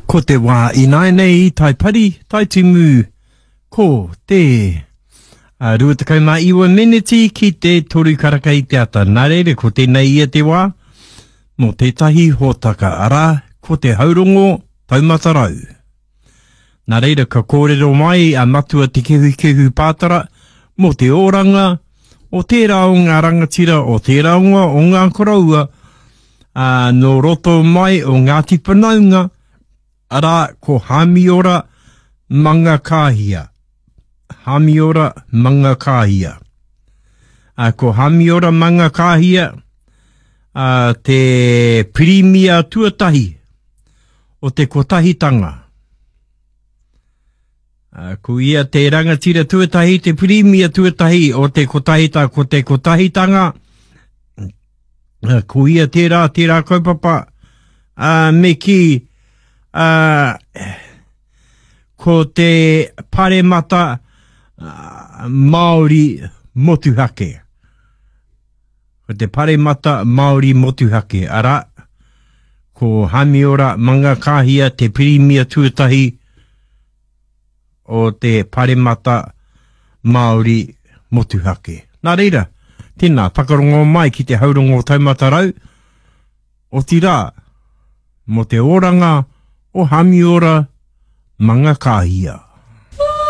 Ko te wā ināianei i Taipari, Taitimu, ko te 29 meneti ki te toru karaka i te ata. Nā reira, ko tēnei ia te wā mō tētahi hōtaka, arā, ko te haurongo taumata rau. Nā reira, ka kōrero mai a Matua Te Kehukehu Pātara mō te oranga o tērā o ngā rangatira, o tērā o ngā, o ngā koroua, ā, nō roto mai o Ngāti Whanaunga, arā, ko Hāmiora Mangakāhia. Hāmiora Mangakāhia. Ā, ko Hāmiora Mangakāhia, ā, te pirimia tuatahi o te kotahitanga. Ko ia te rangatira tuatahi, te pirimia tuatahi o te kotahita, ko te kotahitanga, ko ia tērā, tērā kaupapa, uh, me kī, uh, ko te paremata uh, Māori motuhake. Ko te Paremata Māori Motuhake, arā, ko Hamiora Mangakāhia te pirimia tuatahi o te Paremata Māori Motuhake. Nā reira, tēnā, whakarongo mai ki te haurongo taumata rau, otirā, mō te oranga o Hamiora Mangakāhia.